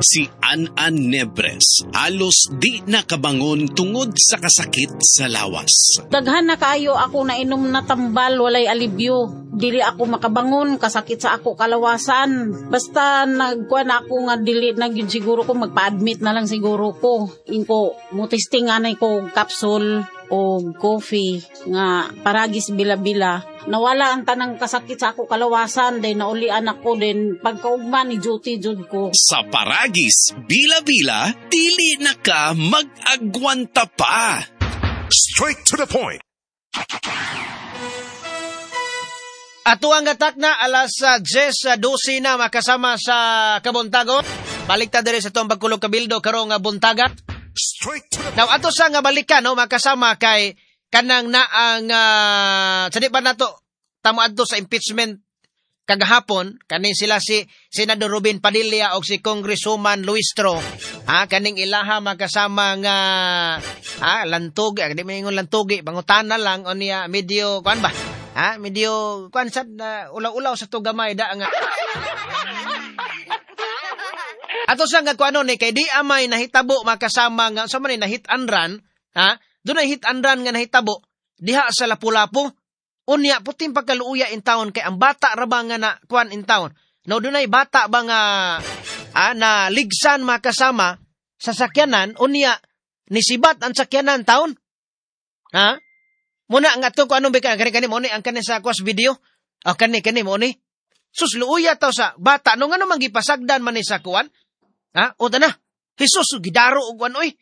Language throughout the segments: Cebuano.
Si An-An Nebres halos di nakabangon tungod sa kasakit sa lawas. Daghan na kaayo ako nainom na tambal, walay alibyo. Dili ako makabangon, kasakit sa ako kalawasan. Basta nagkuan ako nga dili na gyud siguro ko, magpa-admit na lang siguro ko. Inko mo testing anay ko capsule o coffee nga Paragis Bila-Bila. Nawala ang tanang kasakit sa ako kalawasan, then naulian ako, then pagkaugma ni duty jud ko. Sa Paragis Bila-Bila, dili na ka mag-agwanta pa. Straight to the point. Ato ang gatak na alas 10:12 na makasama sa kabuntago. Balik ta diri sa itong pagkulog kabildo karong buntaga. Straight to the Now ato sa nga balikan no makasama kay kanang naang sa di pa nato tamo adto sa impeachment kagahapon kaning sila si Senador Robin Padilla og si Congresswoman Luistro, ha, kaning ilaha makasama nga ha lantog, di maingon lantugi, pangutana lang unya medyo kuan ba, ha, medyo kuan sad ulaw-ulaw sa tugamay da nga ato sa nga kuano ni kay di amay nahitabo makasama nga sa man ni na hit and run, ha, dunay hit and run nga nahitabo diha sa Lapu-Lapu. Unya puting pagkaluuya in town kay ang bata ra ba nga na kuan in town. No dunay bata ba nga na ligsan makasama sa sakyanan, unya nisibat ang sakyanan town. Ha? Muna nga to kuano ba kani kani mo ni ang kani sa kwas video. O kani kani mo ni. Sus luuya taw sa bata no ngano man gipasagdan man ni sa kuan? Ha? O tana. Jesus gidaro og kuan oy.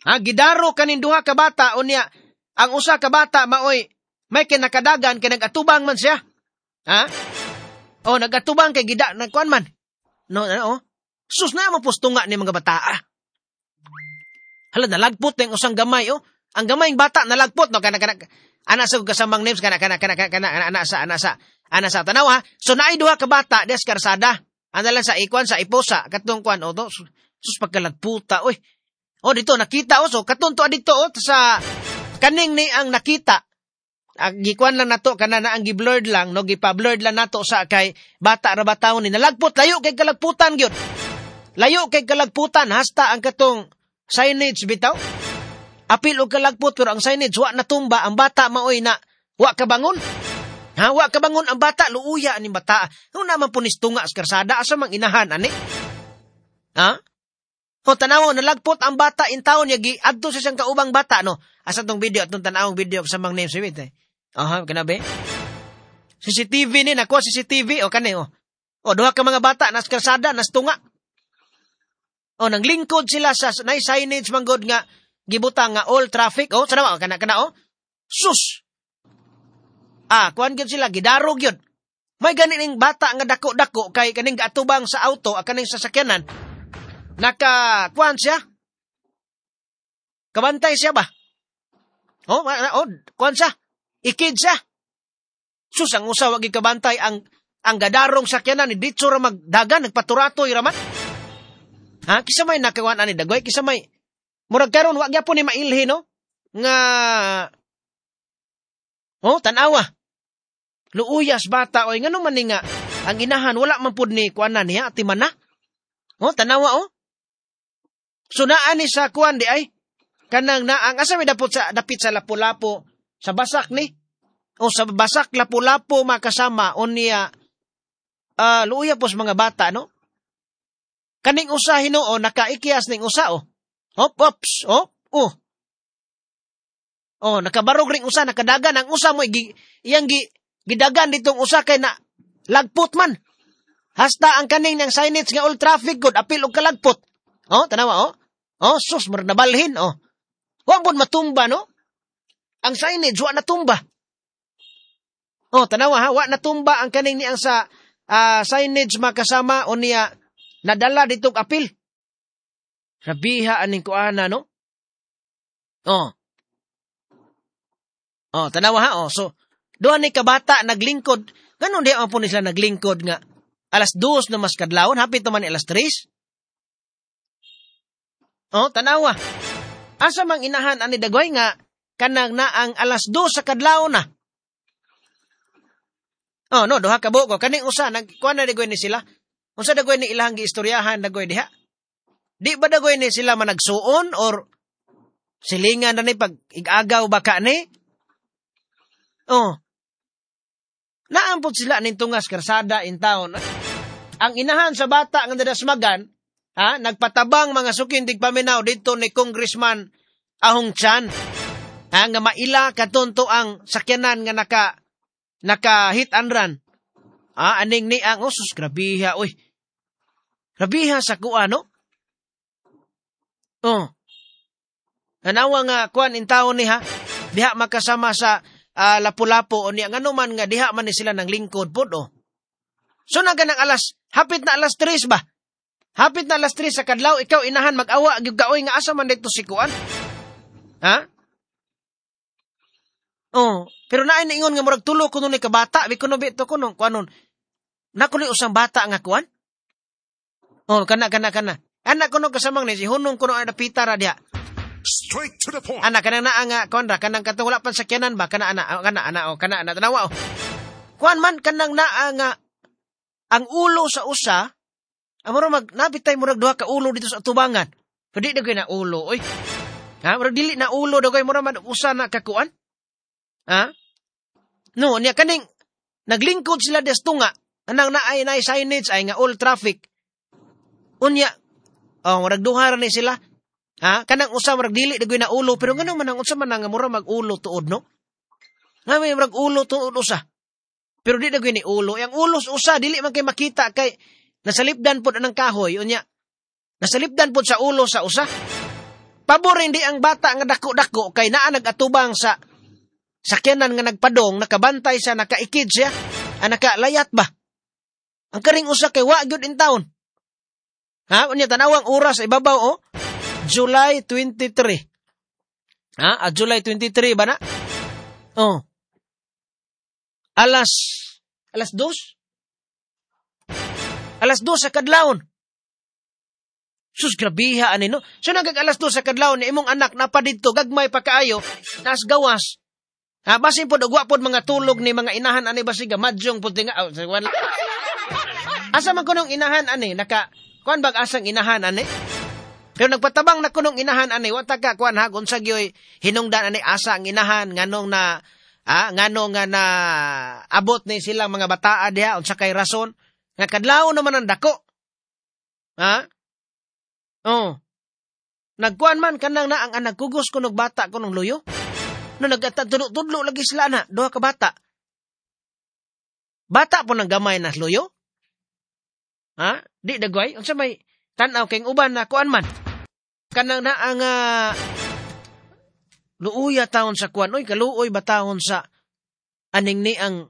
Ha, gidaro kanin duha ka bata unya ang usa ka bata maoy may kinakadagan kay nagatubang man siya. Ha? O nagatubang kay gida nagkuan man. No, no. Sus na mo postunga ni mga bataa. Hala nalagpot ang usang gamay oh. Ang gamayng bata nalagpot no kana kana ana sa kasamang names kana kana kana kana ana sa ana sa ana sa tanaw ha. So naay duha ka bata des karsada. Ana lang sa ikuan sa iposa katong kuan o to. Sus pagkalagputa oy. O dito nakita o so katong to dito o sa kaning ni ang nakita. Ang gikuan lang nato kana na ang gi-blurred lang no gipa-blurred lang nato sa kay bata ra ba taon ni nalagpot layo kay kalagputan gyud. Layo kay kalagputan hasta ang katong signage bitaw. Apil og kalagpot pero ang signage wa natumba, ang bata maoy na wa kabangon. Ha, wa kabangon ang bata, luuya aning bata. No naman punis tunga sa karsada asa mang inahan ani. Ha? O tanaw nalagpot ang bata in taon ya giadto sa siyang kaubang bata no. Asa tong video atong tan-awong video sa mang name sweet eh. Aha, kanabi. CCTV ni nakuha CCTV o kani o. O duha ka mga bata nas karsada nas tunga. O nanglingkod sila sa nay signage manggod nga gibutang nga all traffic o sana kana kana o. Sus. Ah, kuan gyud sila gidaro gyud. May gani ning bata nga dako-dako kay kaning gaatubang sa auto a kaning sasakyanan. Naka kuan siya. Kabantay siya ba? O, o kuan siya. Ikid siya. Sus, ang usa wa gikabantay ang gadarong sakyanan ni ditso ra magdagan nagpaturatoy ra man. Ha, kisa may nakakuan ani dagway, kisa may murag karon wa gyapon ni mailhi no nga oh tan-awa. Luuyas bata oy ngano man ni nga ang inahan wala man pud ni kuanan niya ati man na. Oh tan-awa oh. So naa ni sa kuan di ay kanang naang asa may dapot sa dapit sa Lapu-Lapu sa basak ni o sa basak Lapu-Lapu makasama unya luuya pos mga bata no. Kaning usa hinuo nakaikyas ning usa oh. Hop ops oh oh. Oh nakabarog ring usa nakadagan ang usa mo iyang gidagan ditong usa kay na lagpot man. Hasta ang kaning ng signage nga all traffic good apil og kalagpot. Oh tanawa oh. Oh sus murag nabalhin oh. Wa pud matumba no. Ang signage wa natumba. Oh tanawa ha, wa natumba ang kaning niang sa signage makasama unya nadala ditong apil. Rabiha aning kuana no. Oh. Oh tanawa ha oh. So duha ni kabata naglingkod. Ganon di man po ni sila naglingkod nga 2:00 na mas kadlawon, hapit naman ni 3:00. Oh tanawa. Asa mang inahan ani dagway nga kanang naang 2:00 sa kadlawon na. Oh no, duha ka buok kaning usa nagkuan na dagway ni sila. Unsa dagoy ni ilang giistoryahan dagoy diha? Di ba dagoy ni sila managsuon or silingan na ni pag igagaw ba ka ni? Oh. Naampot sila ning tungas karsada in town. Ang inahan sa bata nga nadasmagan, ha, nagpatabang mga sukin tigpaminaw dito ni Congressman Ahong Chan. Ha, nga maila katunto ang sakyanan nga naka hit and run. Ah, aning ni ang oh, sus, grabiha oy. Grabiha sa kuan, no? Oh. Nanawa nga kuan in taon ni ha. Diha makasama sa Lapu-Lapu o niya ngano man nga diha man ni sila nang lingkod pod oh. So na ganang alas, hapit na alas 3 ba? Hapit na alas 3 sa kadlaw, ikaw inahan mag-awa gyud kaoy nga asa man dito si kuan. Ha? Oh, pero naay niingon nga murag tulo kuno ni kabata, bi kuno bi to kuno kuanon. Na kuno usang bata nga kuan. Oh, kana kana kana. Anak kuno kasamang ni si hunong kuno ang napita ra diha. Straight to the point. Anak kanang naa nga kuan ra kanang katong wala pan sakyanan ba kana ana oh, kana ana oh, kana ana tanawa oh. Kuan man kanang naa nga ang ulo sa usa amoro mag napitay murag duha ka ulo dito sa tubangan. Pero di dagoy na ulo oy. Ha, murag dili na ulo dagoy mura man usa na kakuan. Ha? No, niya kaning naglingkod sila des tunga anang naay naay signage ay nga all traffic. Unya oh murag duha ra ni sila. Ha? Kanang usa murag dili dagoy na ulo pero ngano man ang unsa man nga mura mag ulo tuod no? Nga may murag ulo tuod usa. Pero di dagoy ni ulo. Ang ulo sa usa dili man kay makita kay nasalipdan pod anang kahoy unya. Nasalipdan pod sa ulo sa usa. Pabor hindi ang bata nga dako-dako kay naa nagatubang sa sakyanan nga nagpadong, nakabantay sa nakaikid siya, ang nakalayat ba? Ang karing usa kay wa gyud in town. Ha? Unya tanawang oras ibabaw oh. July 23. Ha? Ah, July 23 ba na? Oh. Alas 2? Alas 2 sa kadlawon. Sus, grabiha ani no. So nagag alas 2 sa kadlawon ni imong anak napa didto gagmay pa kaayo, nas gawas. Ha, basin pod og wa pod mga tulog ni mga inahan ani basiga madyong pod tinga. Oh, asa man kunong inahan ani naka kuan bag asang inahan ani? Pero nagpatabang na kunong inahan ani wa ta ka kuan ha unsa gyoy hinungdan ani asa ang inahan nganong na ngano nga na abot ni silang mga bataa diha unsa kay rason nga kadlawon naman ang dako. Ha? Oh. Nagkuan man kanang na ang anak kugos kunog bata kunong luyo. No nagtudlo lagi sila na duha ka bata. Bata po nang gamay na luyo. Ha? Di dagway unsa may tan-aw kay uban na kuan man. Kanang na ang luuya taon sa kuan oy kaluoy ba taon sa aning ni ang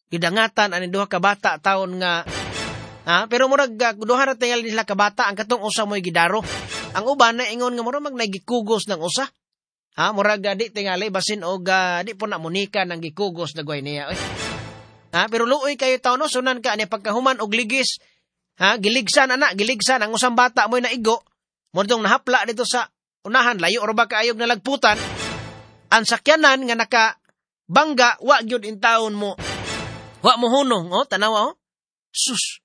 gidangatan aning duha ka bata taon nga ha pero murag duha ra tingali nila ka bata ang katong usa moy gidaro. Ang uban na ingon nga murag nagikugos ng usa. Ha, murag di tingali basin og di po na munika nang gikugos dagway niya oy. Ha, pero luoy kayo taon no sunan ka ani pagkahuman og ligis. Ha, giligsan ana, giligsan ang usang bata moy naigo. Mo dong nahapla dito sa unahan layo ra ba kaayog nalagputan. Ang sakyanan nga naka bangga wa gyud in taon mo. Wa mo hunong oh, tanawa oh. Sus.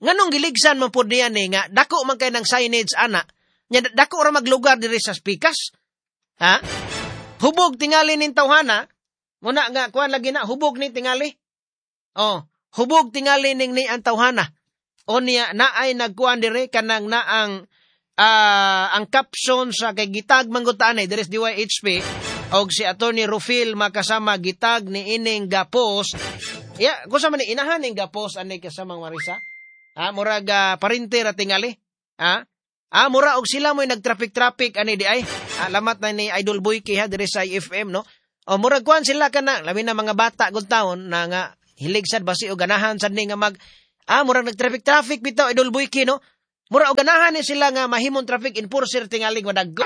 Nganong giligsan man pod niya ni nga dako man kay nang signage ana. Nya dako ra maglugar diri sa Spikas. Ha? Hubog tingali ning tawhana. Muna nga kuan lagi na hubog ni tingali. Oh, hubog tingali ning ni ang tawhana. O niya naay nagkuan diri kanang naang ang caption sa kay gitag manggutan ay diri sa DYHP og si Attorney Rufil makasama gitag ni ining gapos. Ya, kusa man ni inahan ning gapos ani kasamang Marisa. Ha, murag parente ra tingali. Ha? Ah, mura og sila mo'y nagtraffic-traffic ani di ay. Alamat na ni Idol Boyke ha diri sa IFM no. O murag kuan sila kana labi na mga bata gud taon na nga hilig sad basi og ganahan sad ni nga mag murag nagtraffic-traffic bitaw Idol Boyke no. Mura og ganahan ni sila nga mahimong traffic enforcer tingali nga dagko.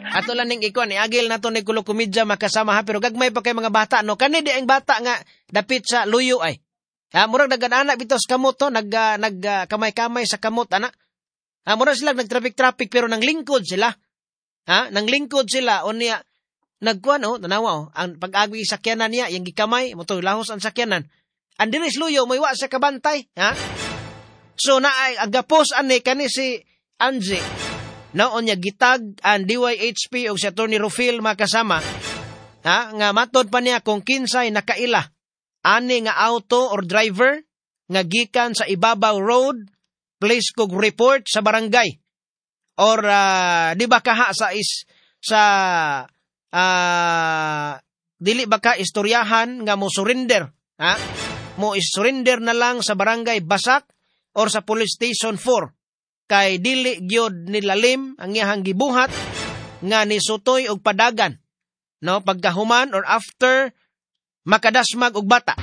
Ato lang ning ikuan ni agil nato ni Kulo Komedya makasama ha pero gagmay pa kay mga bata no. Kani di ang bata nga dapit sa luyo ay. Ha, murag nag-anak bitaw sa kamot to, nag kamay-kamay sa kamot ana. Ha, murag sila nagtraffic-traffic pero nang lingkod sila. Ha, nang lingkod sila unya Nagkuan oh, tanawa oh, ang pag-agi sakyanan niya, yang gikamay, mo to lahos ang sakyanan. Ang diris luyo moy wa sa kabantay, ha? So na ang gapos ani kani si Angie. Naon niya gitag ang DYHP og si Attorney Rufil makasama. Ha, nga matod pa niya kung kinsay nakaila ani nga auto or driver nga gikan sa Ibabaw Road, place kog report sa barangay or di ba kaha sa is sa dili ba ka istoryahan nga mo surrender, ha? Mo surrender na lang sa barangay Basak or sa Police Station 4 kay dili gyud nilalim ang iyahang gibuhat nga nisutoy og padagan, no, pagkahuman or after makadasmag og bata.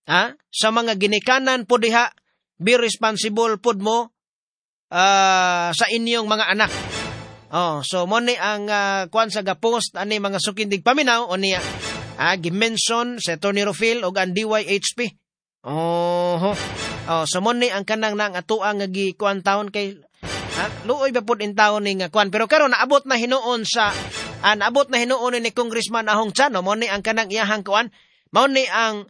Ha? Sa mga ginikanan po diha, be responsible pod mo sa inyong mga anak. Oh, so mo ni ang kuan sa ga-post ani mga sukindig paminaw o niya gi-mention sa Attorney Rufil og ang DYHP. Oh, oh, so mo ni ang kanang nang atoa nga gikuan taon kay luoy ba pod in taon ni nga kuan, pero karon naabot na hinuon sa naabot na hinuon ni Congressman Ahong Chan, no? Mo ni ang kanang iyahang kuan, mao ni ang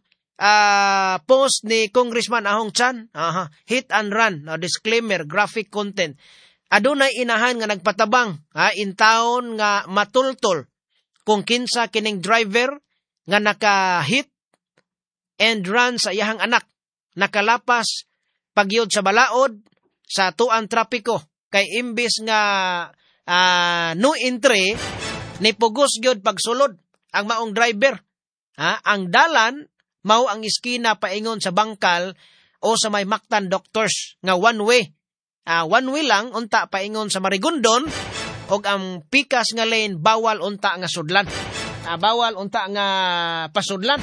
post ni Congressman Ahong Chan, aha, hit and run, no, disclaimer, graphic content. Adunay inahan nga nagpatabang, ha, in town nga matultol kung kinsa kining driver nga naka-hit and run sa iyahang anak, nakalapas pagyud sa balaod sa tuang trapiko kay imbis nga no entry ni pugos gyud pagsulod ang maong driver. Ha, ang dalan mao ang iskina paingon sa Bangkal o sa may Mactan Doctors nga one way. One way lang unta paingon sa Marigondon og ang pikas nga lane bawal unta nga sudlan. Bawal unta nga pasudlan.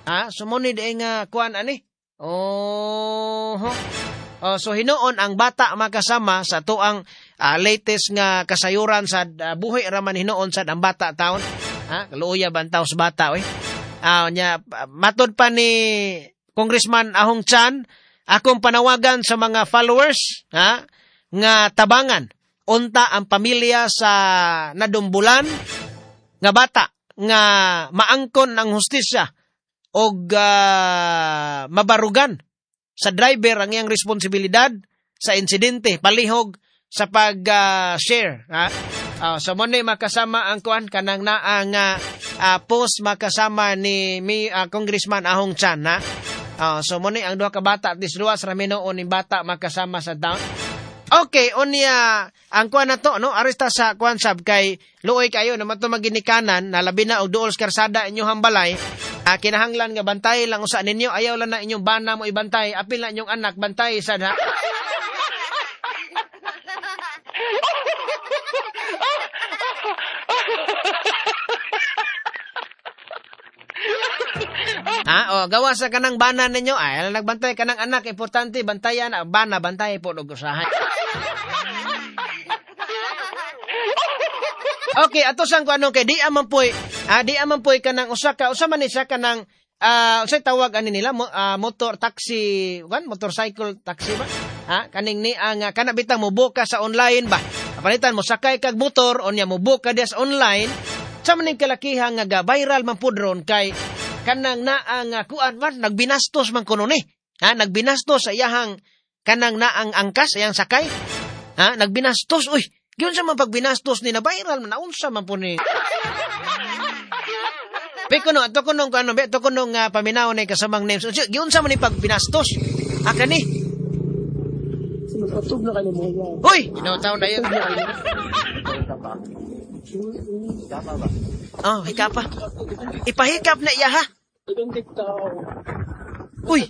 Ha, so mo ni di nga kuan ani. Oh. Oh, so hinuon ang bata makasama sa tuang latest nga kasayuran sa buhi raman hinuon sad ang bata taon. Ha, kaluoya ba ang taos bata oy. Nya matod pa ni Congressman Ahong Chan, akong panawagan sa mga followers, ha, nga tabangan unta ang pamilya sa nadumbulan nga bata nga maangkon ang hustisya og mabarugan sa driver ang iyang responsibilidad sa insidente palihog sa pag share, ha. So mo ni makasama ang kuan kanang naa nga post makasama ni Congressman Ahong Chan, ha. So mo ni ang duha ka bata at least duha sa ramino ni bata makasama sa town. Okay, unya ang kuan na to, no, aresta sa kuan sab kay luoy kayo naman to maginikanan na labi na og duol sa karsada inyong hambalay. Kinahanglan nga bantay lang usa ninyo, ayaw lang na inyong bana mo ibantay, apil na inyong anak bantay sad, ha. Ha, o gawa sa kanang bana ninyo, ay nagbantay kanang anak, importante bantayan ang bana, bantay po og usahay. Okay, ato sang kuno kay di aman poy, di aman poy kanang usa ka, usa man ni siya kanang unsay tawag ani nila, motor taxi, kan motorcycle taxi ba? Ha, kaning ni ang kana bitang mo book ka sa online ba? Palitan mo sakay kag motor unya mo book ka diya sa online. Sa man ning kalakihan nga ga viral man pud ron kay kanang naa nga kuan man nagbinastos man kuno ni. Ha, nagbinastos sa iyahang kanang naang angkas iyang sakay. Ha, nagbinastos, uy. Giunsa man pagbinastos ni na viral man naunsa man po ni. Pe kuno ato kuno kuno be ato kuno nga paminaw ni kasamang names. Giunsa man ni pagbinastos? Ha kani. Sinupatog na kayo mo. Uy, ginoo na yun. Oh, hikap pa. Ipahikap na iya, ha. Uy.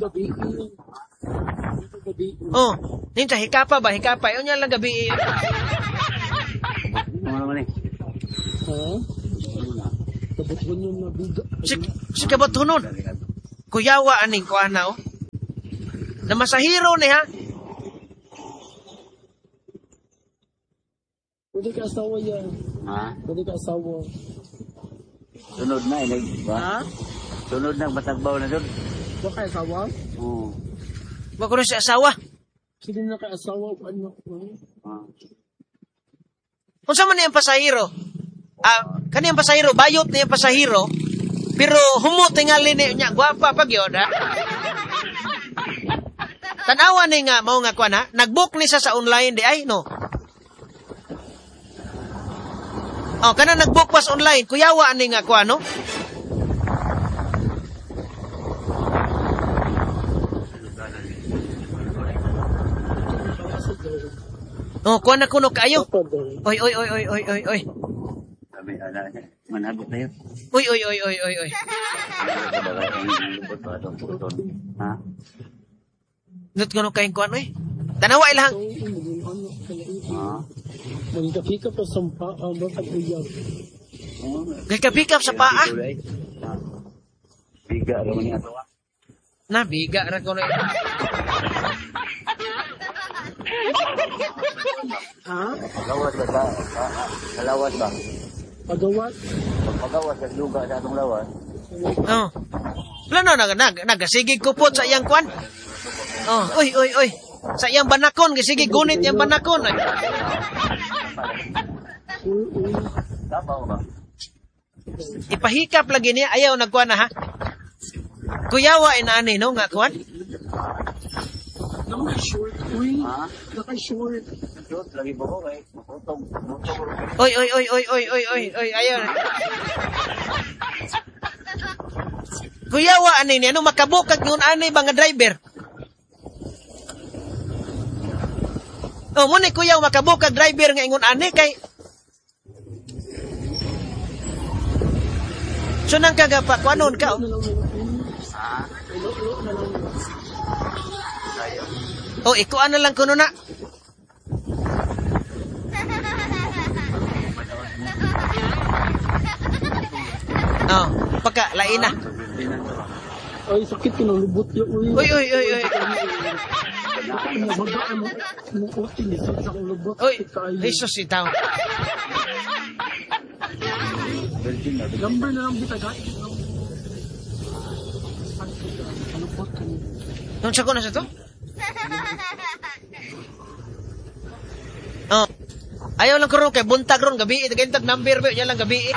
Oh, ninja hikapa ba? Hikapa. Yun yan lang gabi. Si kabatunon. Kuyawa aning kuana oh. Na masahiro ni ha. Pwede ka asawa yan. Ha? Pwede ka asawa. Sunod na eh. Ha? Sunod na matagbaw na doon. Wa kay asawa? Oo. Wa ko na siya asawa. Sige na kay asawa. Ano? Unsa man niyang pasahero? Kaniyang pasahero, bayot niyang pasahero, pero humo tingali niya, gwapa pag yun, ha? Tanawa ni nga, mao nga kuan, ha? Nag-book ni siya sa online, di ay, no? Oh, kana nag-book pas online, kuyawa ni nga kuan, no? Oh, kuan na kuno kaayo. Oy, oy, oy, oy, oy, oy, oy. Manabot na yun. Uy, uy, uy, uy, uy, uy. Ha? Nut kuno kayong kuan, oy. Tanawa ilang. Ha? Magkapika pa sa paa, bakit uyab? Gikapikap sa paa. Biga ra man niya ato. Na biga ra kuno. Ha? Pagawas ba sa lawas ba? Pagawas? Pagawas sa luga sa atong lawas. Oh. Plano nagasigig kupot sa iyang kuan. Oh, oy oy oy. Sa iyang banakon gisigig gunit iyang banakon. Tabaw ba? Ipahikap lagi niya ayaw nagkuan na ha. Kuyawa inaani no nga kuan. Naka-short, uy. Ha? Naka-short. Short lagi ba ko kay mutong mutong. Oy oy oy oy oy oy oy oy ayaw. Kuyawa ani niya no makabukag ngon ani ba nga driver. Oh, mo ni kuyaw makabukag driver nga ingon ani kay So nang kagapa kuanon ka. Oh, ikuan na lang kuno na. Oh, pagka lain na. Ay, sakit ko ng lubot yun. Uy, Uy, uy, uy, uy. Uy, Jesus itaw. Number na lang kita guys. Nung sa ko na sa to? Oh. Ayaw lang karon kay buntag ron gabi, gantag number ba lang gabi.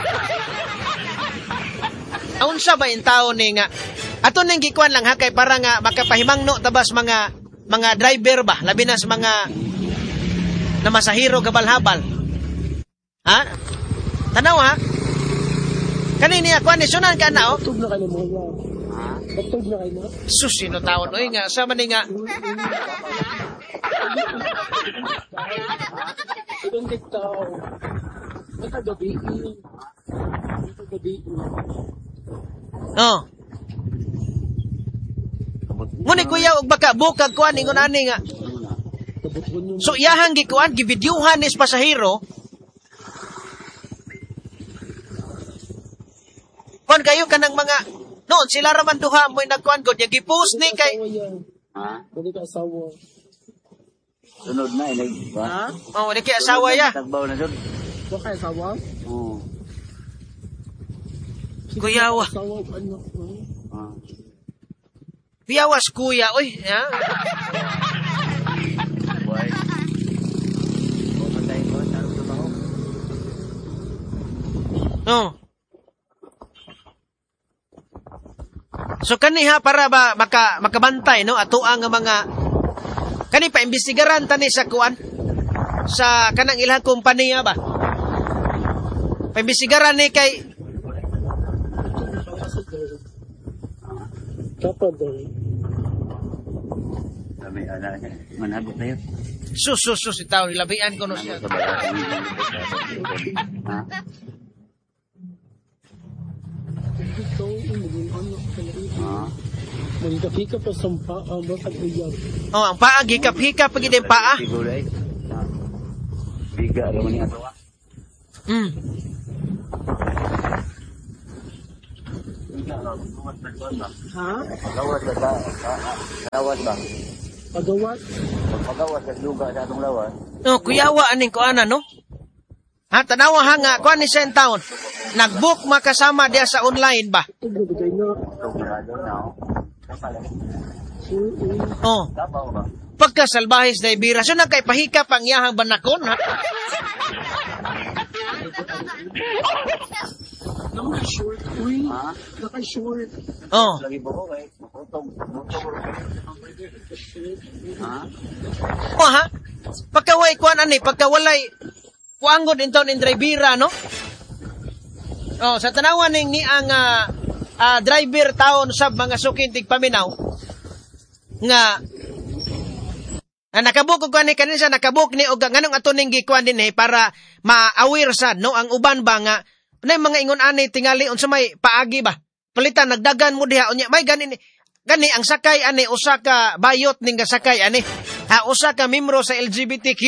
Unsa ba in taon ni nga ato ning gikuan lang ha kay para nga makapahimangno tabas mga driver ba labi na sa mga na masahiro gabal-habal. Ha? Tanaw ha? Kani niya kuan ni sunan ka na oh. Tug na kayo mo. Tug na kayo. Sus sino taon oy nga sa man nga Ibang tao. Matagabi. Matagabi. Oh. Muni kuya og baka bukag kuan ingon ani nga. So iyahang gikuan gibidyuhan ni pasahero. Kuan kayo kanang mga noon sila ra man duha mo'y nagkuan gud nya gipost ni kay Ha? Dili ka asawa. Sunod na inig ba? Ha? Oh, di kay asawa ya. Tagbaw na jud. Wa kay asawa? Oo. Kuyawa. Asawa ano? Ah. Kuyawas kuya oy, ha? Buhay. Pumatay ko sa trabaho. Oh. So kaniha para ba makabantay no ato ang mga kani pa imbestigaran tani sa kuan sa kanang ilang kompanya ba. Paimbestigaran ni kay Kapag daw. Kami ana manabot na yun. sus sus sus itaw labian ko no siya. Ha? Ikaw maging ano Ha? Magkapika pa sa paa bakit uyab. Oh, ang paa gikap-hikap pag ang paa. Siguro ay. Biga ra man niya ato. Ha? Pagawas ba sa lawas ba? Pagawas? Pagawas sa luga sa atong lawas. Oh, kuyawa aning kuana no? Ha, tanawa ha nga kuan ni siya in town. Nagbook makasama diya sa online ba? Tug na bigay na. Oh. Pagka salbahis na ibira, so nagkay pahikap ang iyahang banakon ha? Naka-short, uy. Ha? Naka-short. Oh. Lagi ba ko kay maputong. Ha? Oh, ha? Pagkaway kuan ani, pagkawalay kuanggod intawn in drivera, no? Oh, sa tanawan ning ni ang driver taon sa mga sukin tigpaminaw nga nakabuk og kuan ni kanin siya nakabuk ni og nganong ato ning gikuan dinhi para ma-aware sad, no, ang uban ba nga nay mga ingon ani tingali unsa may paagi ba palitan nagdagan mo diha unya may gani gani ang sakay ani usa ka bayot ning gasakay ani ha usa ka membro sa LGBTQ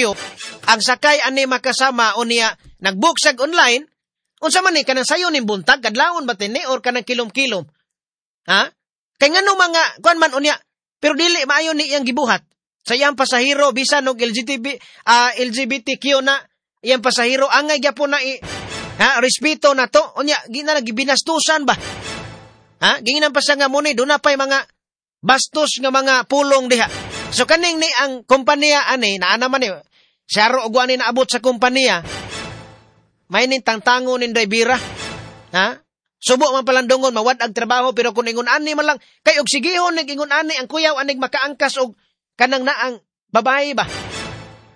ang sakay ani makasama unya nagbook sag online unsa man ni kanang sayo ning buntag kadlawon ba tini or kanang kilom-kilom ha kay ngano mga kuan man unya pero dili maayo ni iyang gibuhat sa iyang pasahero bisan og LGBTQ na iyang pasahero angay gyapon na ha respeto na to unya gina gibinastusan ba ha ginginan pa siya nga muni duna pay mga bastos nga mga pulong diha. So kaning ni ang kompanya ani naa naman ni saro og ani naabot sa kompanya may ning tangtango ning dribera ha subo man palandongon mawad-ag trabaho pero kun ingon ani man lang kay og sigihon nig ingon ani ang kuyaw anig makaangkas og kanang naang babae ba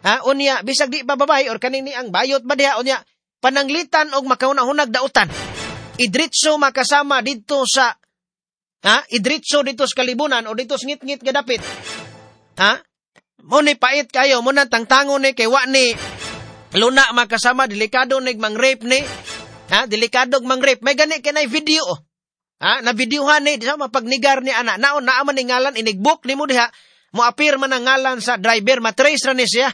ha unya bisag di ba babae or kaning ni ang bayot ba diha unya pananglitan og makahuna-hunag dautan idritso makasama didto sa ha idritso didto sa kalibunan o didto sa ngit-ngit gadapit ha mo ni pait kayo mo na tangtango ni kay wa ni luna makasama delikado nig mang-rape ni ha delikado mang-rape may gani kay video ha na videohan ni di sa mapagnigar ni ana naon naa man ni ngalan inigbook nimo diha mo appear man ang ngalan sa driver matrace ra ni siya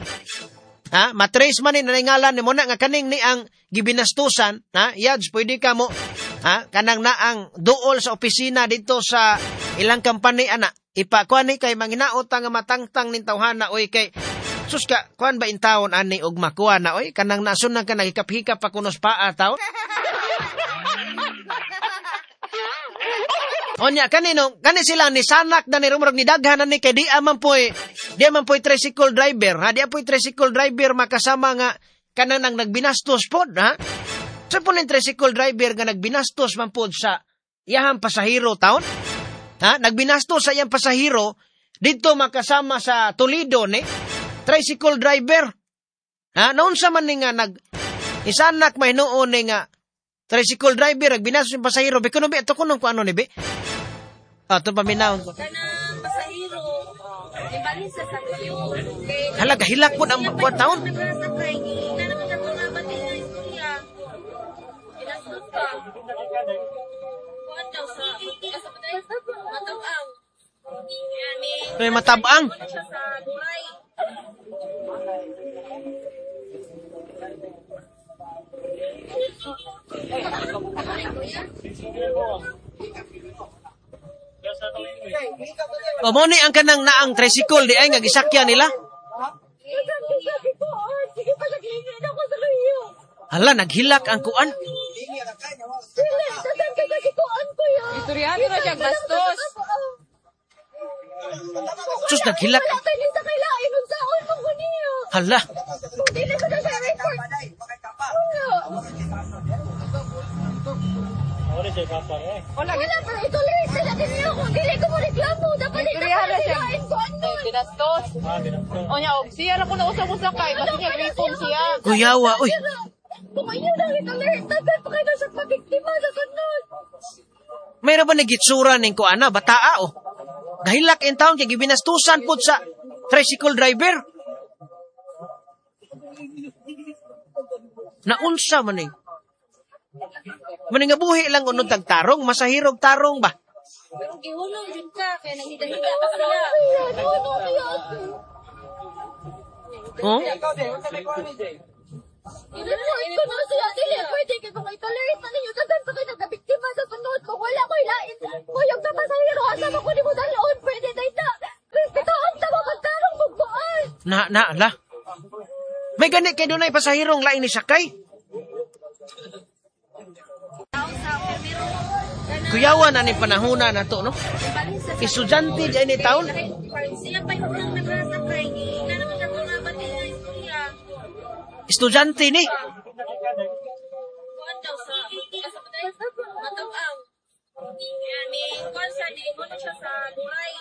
ha matrace man ni ngalan nimo na nga kaning ni ang gibinastusan ha yads pwede ka mo ha kanang naang duol sa opisina dito sa ilang company ana ipakuan ni kay manginaot nga matangtang ning tawhana oy kay sus ka kuan ba intawon ani og makuha na oy kanang nasun ka nagikap-hikap pa kunos paa taon. Onya kanino kani sila ni sanak na ni rumorog ni daghan ni kay di man poy tricycle driver ha di poy tricycle driver makasama nga kanang nang nagbinastos pod ha sa po ning tricycle driver nga nagbinastos man pod sa iyahang pasahero taon ha nagbinastos sa iyang pasahero didto makasama sa Toledo ni tricycle driver ha naunsa man ni nga nag isanak mahinuon ni nga tricycle driver nagbinastos yung pasahero bi kuno bi ato kuno ko ano ni bi ato paminawon ko kanang pasahero ibalhin sa sakyo halaga hilak pud ang buwan taon may matabang o mo ni ang kanang naang tricycle di ay nga gisakyan nila. Hala naghilak ang kuan. Istoryahan na siya bastos. Sus naghilak. Hala. Wala pero ituloy sa ninyo kung dili ko mo reklamo dapat binastos. Onya og siya ra ko na usab usakay kasi niya gripon siya. Kuyawa oy. Kung inyo na ituloy tagal pa kayo sa pabiktima sa sunod. Mayroon ba nagitsura ning kuana bataa oh. Gahilak in town kay gibinastusan pud sa tricycle driver. Naunsa man ning maningabuhi lang unod tagtarong, masahirog tarong ba? Pero gihulong jud ka kay naghidahiga ka siya. Oh? I-report ko na siya. Dili, pwede kay kung itolerate na ninyo, daghan pa kayo nagkabiktima sa sunod. Kung wala ko'y lain, kuyog na pasahero, asa mo ko ni mo dalon, pwede na ita. Respetoon ta mo, magtarong mugbuan. Na, la. May gani kay dunay pasahirong lain ni sakay. Kuyawan na ni panahona na to, no? Estudyante dyan ni taon. Estudyante ni. Matag-aw. Ni kuan sa ni mo siya sa Duray.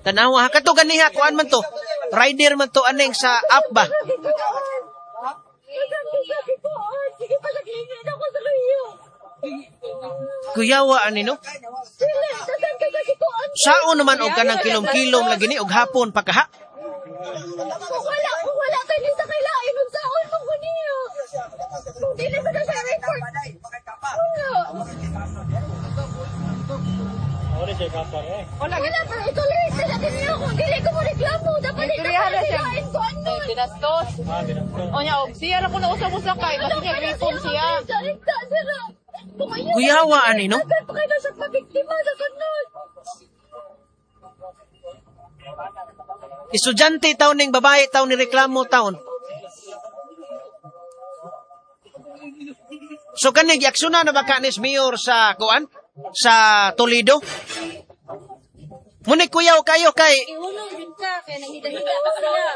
Tanawa ha kato ganiha kuan man to. Rider man to aning sa app ba? Kuyawa ani no? Sao naman og kanang kilom-kilom lagi ni og hapon pa kaha? Wala tayo sa kailain ug saon mo ko niyo. Kung dili sa siya report. Wala. Wala pero itolerate na natin niyo kung dili ko mo reklamo. Dapat Istoryahan na siya. Kailain ko ano. Binastos. O niya, og siya ra ko na usab usakay kasi niya gripon siya. Kuyawa ani no? Dapat pa kayo siya pabiktima sa sunod. Estudyante taon ning babae taon ni reklamo taon. So kani giaksyonan na ba kanis mayor sa kuan sa Toledo? Muni kuyaw kayo kay Ihulong din ka kay nanghidahiga ka sila.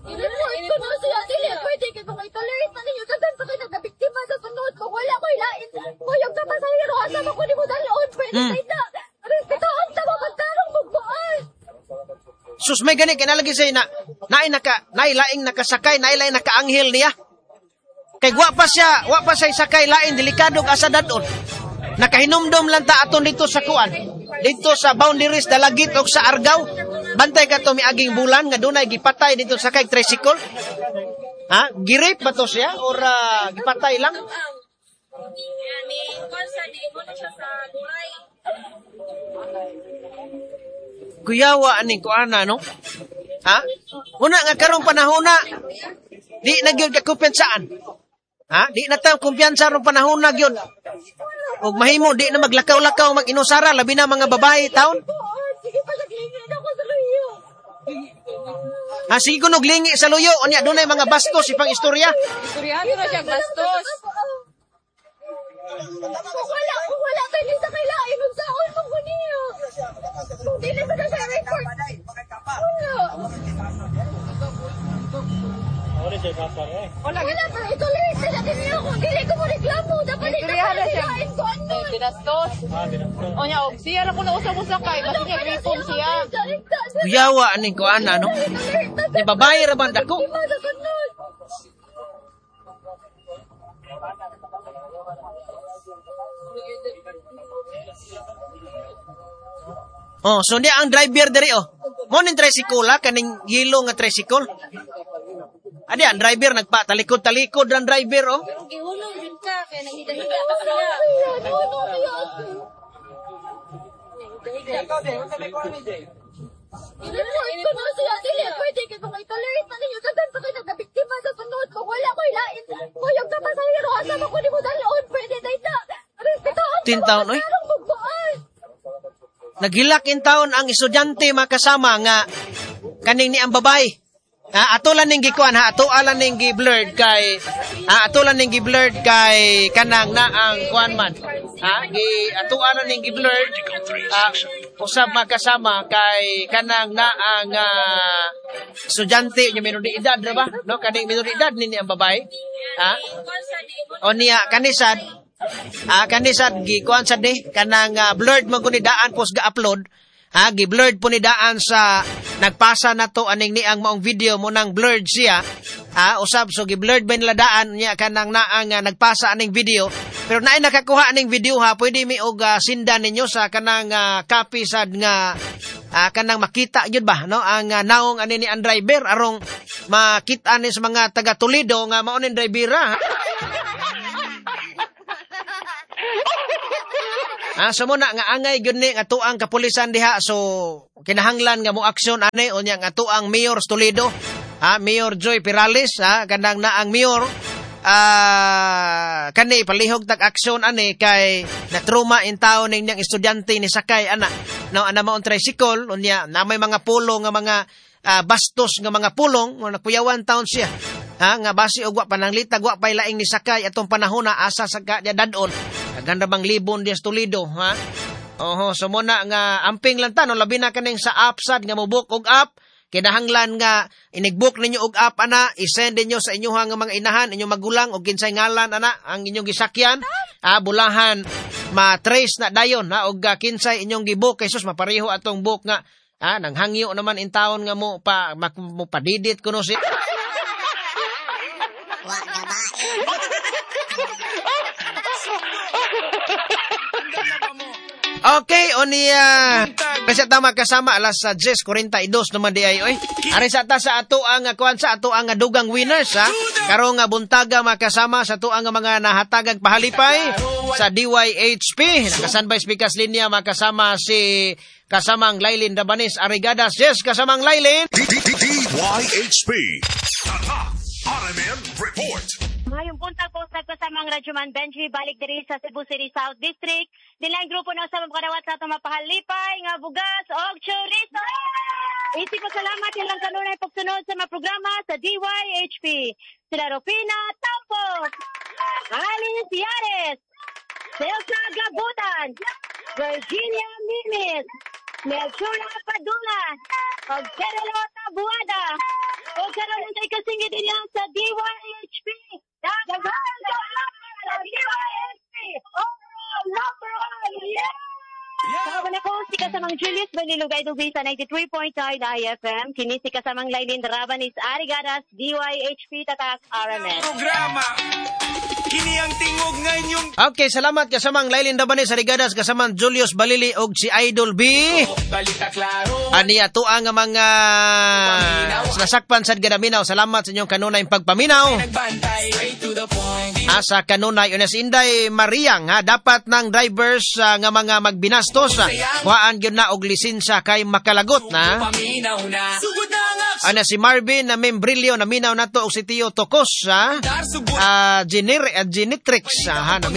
I-report ko na siya. Dili, pwede kay kung itolerate na ninyo. Daghan pa kayo nagkabiktima sa sunod. Kung wala ko ilain, kuyog na pasahero, asa mo ko ni mo dalon. Pwede tayo na. Respetuhan ta mo pagtarong mugbuan. Sus may gani kinalagi say na naay naka naay laing nakasakay, naay laing nakaanghel niya. Kay wa pa siya sakay lain delikado asa dadon. Nakahinumdom lang ta aton dito sa kuan. Dito sa boundaries Dalagit og sa Argao. Bantay ka to miaging bulan nga dunay gipatay dito sa kay tricycle. Ha? Girip ba to siya or gipatay lang? Ni kuan sa ni mo siya sa Duray. Kuyawa aning kuana no? Ha? Una nga karong panahona di na gyud ka kumpensaan. Ha? Di na ta kumpiyansa rong panahona gyud. Og mahimo di na maglakaw-lakaw mag-inusara labi na mga babae taon. Sige pa naglingin ako sa luyo. Ha, sige ko naglingi sa luyo unya dunay mga bastos ipang istorya. Istoryahan na siya bastos. Kung wala tayo sa kailain ug saon mo ko niyo. Kung dili sa siya report. Wala. Wala pero itolerate na natin niyo kung dili ko mo reklamo. Dapat Istoryahan na siya. kailain ko ano. Binastos. O niya, og siya ra ko na usab usakay kasi niya gripon siya. Kuyawa aning kuana no? Ni babae ra banda ko. Oh, so niya ang driver diri oh. Mo ning tricycle ha, kaning yellow nga tricycle. Adi ang driver nagpatalikod-talikod ang driver oh. Ihulong din ka kay nanghidahiga ka sila. I-report ko na siya. Dili, pwede kay kung itolerate na ninyo. Daghan pa kayo nagkabiktima sa sunod. Kung wala ko ilain, kuyog na pasahero, asa mo ko ni mo dalon. Pwede tayo na. Respetuhan ta mo Taon, oy. pagtarong mugbuan. Naghilak in taon ang estudyante makasama nga kaning ni ang babae. Ha, ato lang ning gikuan ha, ato lang ning gi-blurred kay ato lang ning gi-blurred kay kanang na ang kuan man. Ha, gi ato lang ning gi-blurred usab makasama kay kanang na ang estudyante nya minor de edad ra ba? No, kaning minor de edad ni ang babae. Ha? O niya kanisad kanisad gikuan sad ni kanang blurred man kun ni daan pos ga-upload. Ha, gi-blurred po ni daan sa nagpasa na to aning ni ang maong video mo nang blurred siya. Ha, usab so gi-blurred ba nila daan niya kanang naang nagpasa aning video. Pero naay nakakuha aning video ha, pwede mi og sindan ninyo sa kanang copy sad nga kanang makita gyud ba no ang naong ani ni ang driver arong makita ni sa mga taga Toledo nga mao ning driver ha. So muna nga angay gyud ni nga tuang kapulisan diha, so kinahanglan nga mo aksyon ani unya nga tuang Mayor Toledo, ha, Mayor Joy Perales, ha, kanang naang mayor kani palihog tag aksyon ani kay natruma in taon ning niyang estudyante ni sakay ana no ana maong tricycle unya na may mga pulong nga mga bastos nga mga pulong nga nakuyawan taon siya. Ha, nga basi og wa pananglitag wa pay laing ni sakay atong panahon na asa sa dadon. Daghan ra bang libon diya sa Toledo, ha? Oho, so muna nga amping lang ta no, labi na kaning sa app sad nga mo-book og app, kinahanglan nga inig-book ninyo og app ana, i-send ninyo sa inyuhang nga mga inahan, inyong magulang og kinsay ngalan ana ang inyong gisakyan, bulahan ma-trace na dayon ha og kinsay inyong gi-book kay sus mapareho atong book nga nanghangyo naman in taon nga mo pa mo padidit kuno si. Wa gabae. Okay, o niya kasi tama kasama alas 10:42 naman di ay oy. Ari sa ta sa ato ang kuan sa ato ang dugang winners ha. Karong buntaga makasama sa ato ang mga nahatagag pahalipay sa DYHP. Nakasanbay speakers linya makasama si kasamang Lailin Dabanis Arigadas. Yes, kasamang Lailin. DYHP. Tatak RMN Report. Ngayong buntag po sa kasamang Radyoman Benji, balik diri sa Cebu City South District. Nilang grupo na sa makadawat sa atong mapahalipay nga bugas og chorizo. Isip ko salamat ilang kanunay pagsunod sa mga programa sa DYHP. Sila Rufina Tampok, Alice Yares, Celsa Gabutan, Virginia Mimis, Melchora Padula, og Cerelo Tabuada. O karon ang kasingit niya sa DYHP. Daghan sa DYHP. Overall number 1. Yeah! Yeah! Sama ko si kasamang Julius Balilugay Dubi sa 93.9 IFM. Kini si kasamang Lailin Rabanis Arigadas, DYHP Tatak RMN. Programa. Kini ang tingog nga inyong. Okay, salamat kasamang Lailin Rabanis Arigadas, kasamang Julius Balili og si Idol B. Balita klaro. Ani ato ang mga nasakpan sad gadaminaw. Salamat sa inyong kanunay pagpaminaw. Asa kanunay unas Inday Mariang ha, dapat ng drivers nga mga magbinastos kuhaan gyud na og lisensya kay makalagot na. Ana si Marvin na membrilyo na minaw nato og si Tio Tokos ha. Genitrix ha, naminaw